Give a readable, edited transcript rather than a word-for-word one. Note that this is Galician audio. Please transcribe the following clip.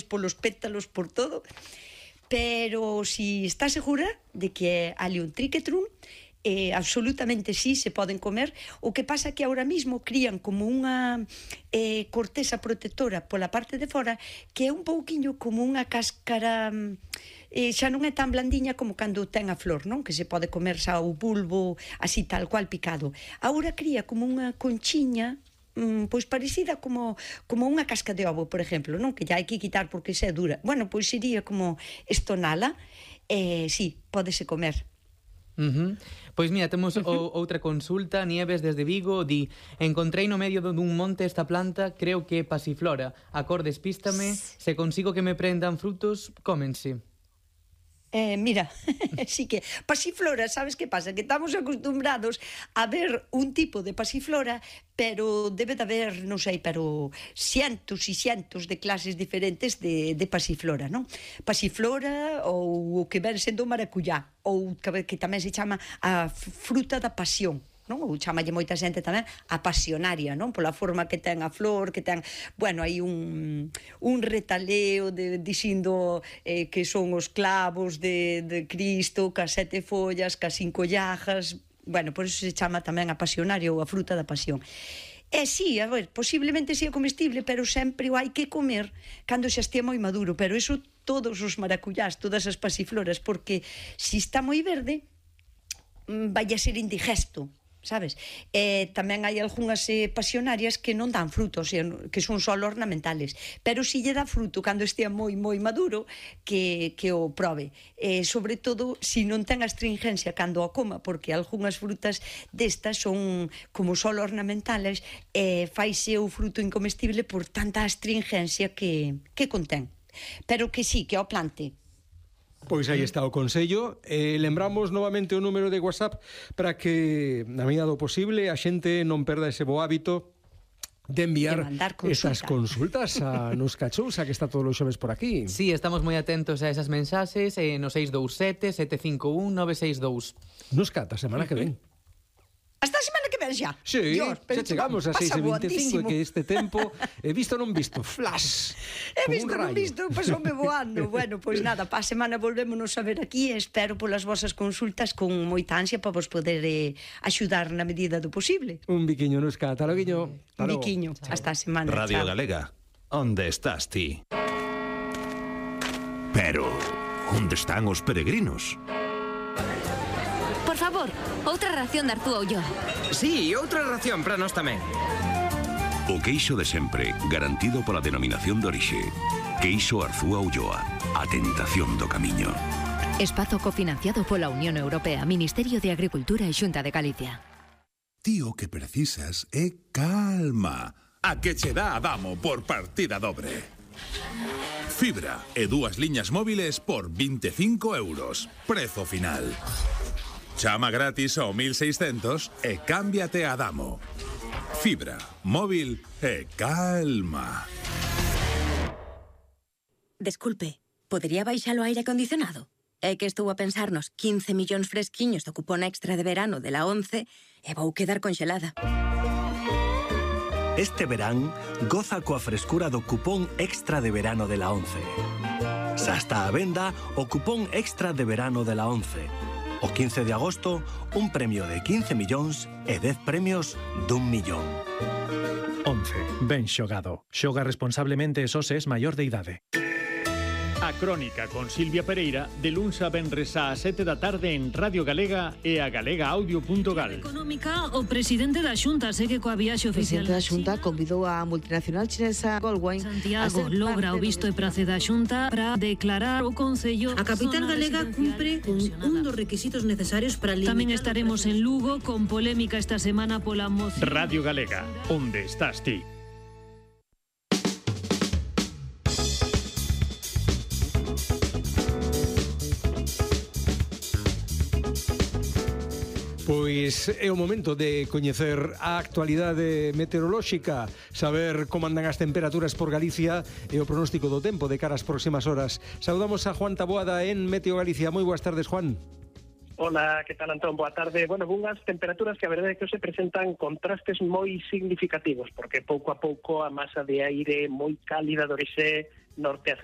polos pétalos, por todo. Pero si está segura de que ali un triquetrum, absolutamente sí, se poden comer. O que pasa que ahora mismo crían como unha corteza protectora pola parte de fora, que é un pouquiño como unha cáscara, xa non é tan blandiña como cando ten a flor, non? Que se pode comer xa o bulbo así tal cual picado. Agora cría como unha conchiña, pois parecida como unha casca de ovo, por exemplo, non? Que xa hai que quitar porque xa é dura. Bueno, pois sería como estonala, sí, pódese comer. Pois mira, temos outra consulta. Nieves desde Vigo di: encontrei no medio dun monte esta planta, creo que é pasiflora. A cor despístame, se consigo que me prendan frutos, cómense. Mira, sí que pasiflora, sabes que pasa? Que estamos acostumbrados a ver un tipo de pasiflora, pero debe de haber, non sei, pero cientos e cientos de clases diferentes de pasiflora, non? Pasiflora ou o que ven sendo maracuyá, ou que tamén se chama a fruta da pasión, non? Ou chamalle moita xente tamén a pasionaria, non? Pola forma que ten a flor, que ten, bueno, hai un retaleo dicindo que son os clavos de Cristo, cas 7 follas, cas 5 llagas, bueno, por eso se chama tamén a pasionaria ou a fruta da pasión. Sí, a ver, posiblemente sea comestible, pero sempre o hai que comer cando xa estea moi maduro, pero eso todos os maracuyás, todas as pasifloras, porque se está moi verde, vai a ser indigesto, sabes? Tamén hai algunhas pasionarias que non dan frutos, que son só ornamentales, pero si lle dá fruto cando estea moi maduro, que o probe, sobre todo si non ten astringencia cando o coma, porque algunhas frutas destas son como só ornamentales, faise o fruto incomestible por tanta astringencia que contén, pero que sí, que o plante. Pois aí está o consello. Lembramos novamente o número de WhatsApp para que, na medida do posible, a xente non perda ese bo hábito de enviar esas consultas a Nuska Chousa, que está todos os xoves por aquí. Sí, estamos moi atentos a esas mensaxes no 627 751 962. Nuska, ata semana que ven. Hasta a semana que ven xa. Sí, Dios, xa chegamos a 6:25 e que este tempo he visto non visto, flash. He visto non visto, pasoume voando. Bueno, pois nada, pa semana volvémonos a ver aquí e espero polas vosas consultas con moita ansia para vos poder axudar na medida do posible. Un biquiño, Nuska, ata loguiño. Un biquiño, hasta a semana. Radio Galega, onde estás ti? Pero, onde están os peregrinos? Por favor, outra ración de Artúa Ulloa. Sí, outra ración para nós tamén. O queixo de sempre, garantido pola denominación de orixe. Queixo Arzúa Ulloa, a tentación do camiño. Espazo cofinanciado pola Unión Europea, Ministerio de Agricultura e Xunta de Galicia. Tío, que precisas é calma. A que che dá Adamo por partida dobre. Fibra e 2 liñas móviles por 25 euros. Prezo final. Chama gratis ao 1600 e cámbiate a Adamo. Fibra, móvil e calma. Desculpe, podería baixar o aire acondicionado? É que estou a pensar nos 15 millóns fresquiños do cupón extra de verano de la 11 e vou quedar conxelada. Este verán, goza coa frescura do cupón extra de verano de la 11. Xa está a venda o cupón extra de verano de la 11. O 15 de agosto, un premio de 15 millóns e 10 premios d'1 millón. 11. Ben xogado. Xoga responsablemente e só se es maior de idade. A Crónica con Silvia Pereira, de luns a venres á 7 da tarde en Radio Galega e a galegaaudio.gal. Económica, o presidente da Xunta segue coa viaxe oficial. O presidente da Xunta convidou a multinacional chinesa Goldwine. Santiago logra o visto e prace da Xunta para declarar o Concello. A capital galega cumpre con un dos requisitos necesarios para limitar. Tamén estaremos en Lugo con polémica esta semana pola moción. Radio Galega, onde estás ti? Pois é o momento de coñecer a actualidade meteorolóxica, saber como andan as temperaturas por Galicia e o pronóstico do tempo de cara ás próximas horas. Saudamos a Juan Taboada en Meteo Galicia. Moi boas tardes, Juan. Hola, que tal, Antón? Boa tarde. Bueno, unhas temperaturas que a verdade é que se presentan contrastes moi significativos, porque pouco a pouco a masa de aire moi cálida do Orixé norte a